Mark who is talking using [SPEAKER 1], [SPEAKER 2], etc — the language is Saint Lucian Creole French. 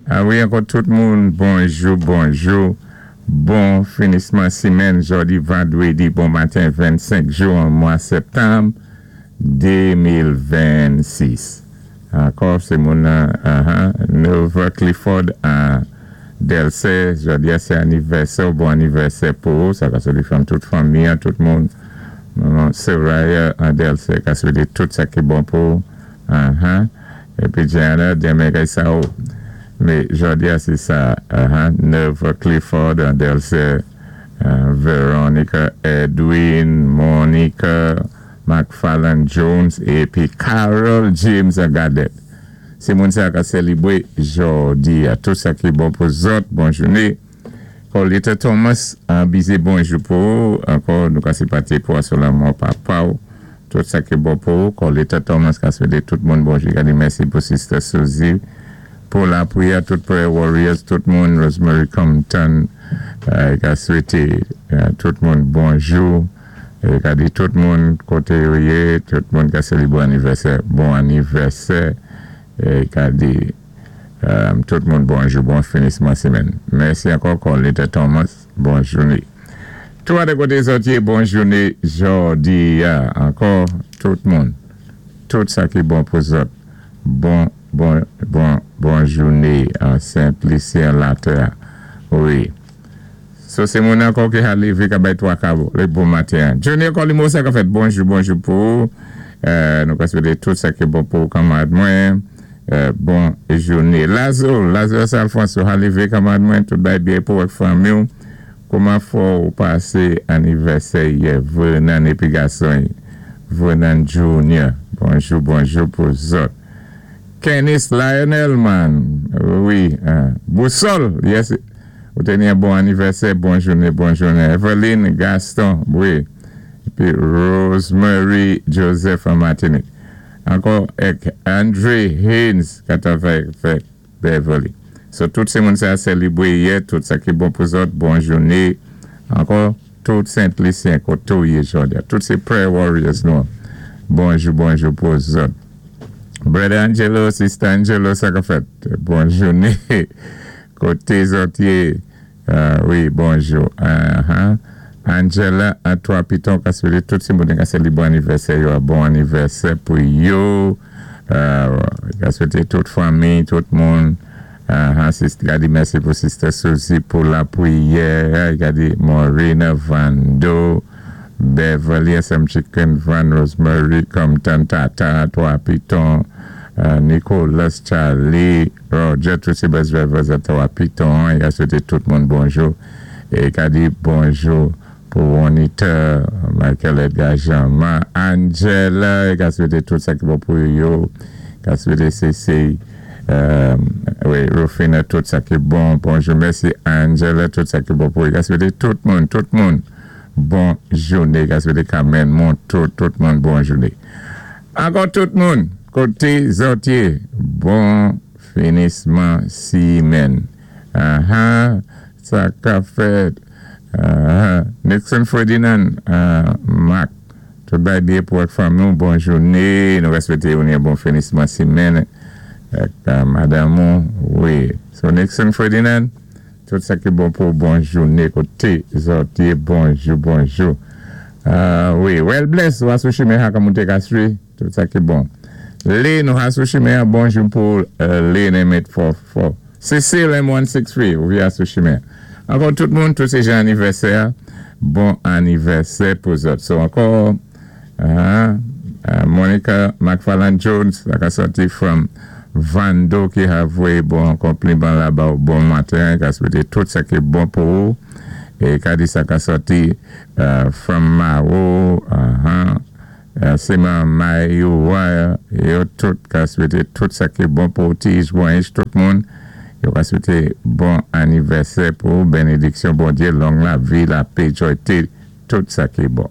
[SPEAKER 1] A wi, ankò tout moun, bonjou, bonjou. Bon finisman simenn, jòdi vandwédi bon maten 25 jwen, mwa sèptanm 2026. Ankò, sé moun Nova Clifford a Delsey, jòdi a sé anivèsè, bon anivèsè pou ou, sa ka swété fanm tout fanmi, tout moun. Manman Soraya a Delsey, ka swété tout sa ki bon pou ou. Épi Gianna, denmen kay sa ou. Mé jòdi a sé sa, Nova Clifford a Delsey, Veronica Edwin, Monica McFarland Jones épi Carol James a Gadet. Sé moun sa ka sélibwé jòdi a. Tout sa ki bon pou zòt, bon jouné. Paulita Thomas, bizé bonjou pou ou. Ankò, nou ka senpati pou sou lanmò papa ou. Tout sa ki bon pou ou. Paulita Thomas ka swété tout moun bonjou. Gadi mèsi pou Sister Suzy pou lapriyè, tout Prayer Warriors, tout moun, Rosemary Compton, ka swété tout moun bonjou. É ka di tout moun koté yo yé, tout moun ka sélibwé anivèsè, bon anivèsè. É ka di tout moun bonjou, bon finisman simenn. Mèsi ankò, Paulita Thomas, bon jouné. Tou a de koté zòt yé, bon jouné jòdi a. Ankò, tout moun, tout sa ki bon pou zòt, bon, bon, bon, bon jouné an Sent Lisi an latè. Wi. So sé moun ankò ki ha lévé ka bay 3 ka lé bon maten. Junior Colimo sa ka fèt bonjou bonjou pou ou. Nou ka swété tout sa ki bon pou ou kanmarad mwen. Bon jouné. Lazo, Lazarus Alphonse ou ha lévé kanmarad mwen, tout bay byen pou ak fanmi ou. Kouman fò ou pasé anivèsè yè Vernon épi gason Vernon Junior. Bonjou bonjou pou zòt. Kennis Lionel man, wi, Boussole, yes, ou té ni bon anivèsè, bon jouné, bon jouné. Eveline Gaston, wi. Épi Rosemary Joseph an Martinique. Ankò ek Andre Haynes ka travay avèk Beverly. So tout sé moun sa sélibwé yè, tout sa ki bon pou zòt, bon jouné. Ankò tout Sent Lisyen koté ou yé jòdi a. Tout sé Prayer Warriors nou. Bonjou, bonjou pou zòt. Brother Angelo, Sister Angelo, sa ka fèt. Bon jouné. Koté zòt yé. Wi, bonjou. Angela, an 3 Piton, ka swété tout sé moun ka sélibwé anivèsè yo a bon anivèsè pou yo. Ka swété tout fanmi, tout moun. Gadi mèsi pou Sister Suzy pou lapriyè. Gadi Maureen Vando, Beverly SM Chicken Van, Rosemary Compton, Tata, 3 Piton, Nicholas Charlie, Roger, tout sé bus drivers a 3 Piton. Ka swété tout moun bonjou. É ka di bonjou pou Juanita, Michael Edgar Jean-Marc, Angela, ka swété tout sa ki bon pou yo. Ka swété CC, wi, Rufina, tout sa ki bon. Bonjou, mèsi Angela, tout sa ki bon pou yo. Ka swété tout moun, tout moun, bon jouné. Ka swété Carmen Monto, tout moun, bon jouné. Ankò tout moun, koté zòt yé, bon finisman simenn. Aha, sa ka fèt. Aha, Nixon Ferdinand, Marc, tout bay byen pou ak fanmi ou, bon jouné. Nou swété ou ni bon finisman simenn ak madanm ou. Wi. So Nixon Ferdinand, tout sa ki bon pou bon jouné koté zòt yé, bonjou, bonjou. Wi, well bless, ou sou chimen ha ka monté Castries, tout sa ki bon. Lynn, ou sou chimen, bonjou pou Lynn M844. Cecile M163, ou via sou chimen. Ankò tout moun, tout sé jan anivèsè, bon anivèsè pou zòt. So ankò, Monica McFarland Jones, la ka sòti from Vando ki ha voyé bon konpliman la ba ou bon maten, ka swété tout sa ki bon pou ou. É ka di sa ka sòti from Maro, Seman Mayouwa, yo tout ka swété tout sa ki bon pou Tige Bwanich, tout moun. Yo ka swété bon anivèsè pou bénédiksyon Bondyé, long lavi, lapè, jòyté, tout sa ki bon.